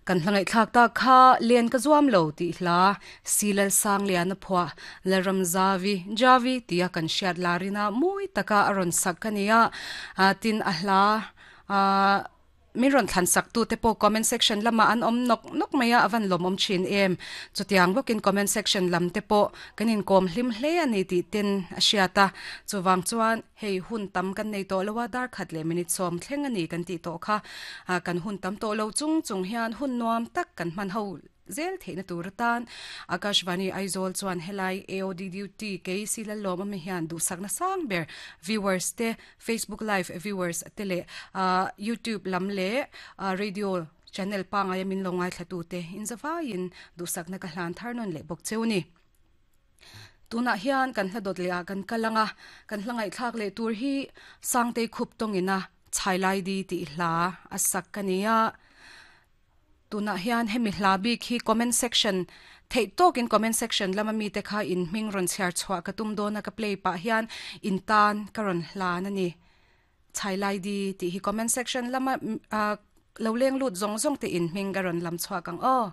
Kan hla ngaihthlak tak kha Len ka zuam lo tih hla Silal Sangliana phuah Lalramzavi, Javi, tia kan hriat larina mawi taka a rawn sak ka ni a, tin a hla min rawn thlan sak tu te pawh comment section lamah an awm nawk nawk mai a, a van lawmawm thin em. Chutiang bawkin comment section lam te pawh kan inkawm hlim hle a ni tih ten a hriat a, chuvang chuan Hei hun tam kan nei tawh lo a, dar khat leh minute sawm thleng a ni kan tih tawh kha. Kan hun tam tawh lo chung chung hian hun nuam tak kan hman ho zel theihna tur atan Akashvani Aizawl chuan helai AOD duty kei si Lallawm awm hian duhsakna sang ber viewers te, Facebook live viewers te leh YouTube lam leh radio channel pangaia min lo ngaithlatute inzavaiin duhsakna ka hlan thar nawn leh bawk cheu ni. Tunah hian kan hla dawt leh ah kan kal ang a, kan hla ngaihthlak leh tur hi Sangtei khup tawngin a Chhailaidi tih hla a sak a ni a. Tunah hian hemi hla bik hi comment section theih tawkin comment section lama mite kha in hming rawn chhiar chhuah ka tum dawn a ka play pah hian in tan ka rawn hlan a ni. Chhailaidi tih hi comment section lama lo leng lut zawng zawng te in hming ka rawn lam chhuak ang aw.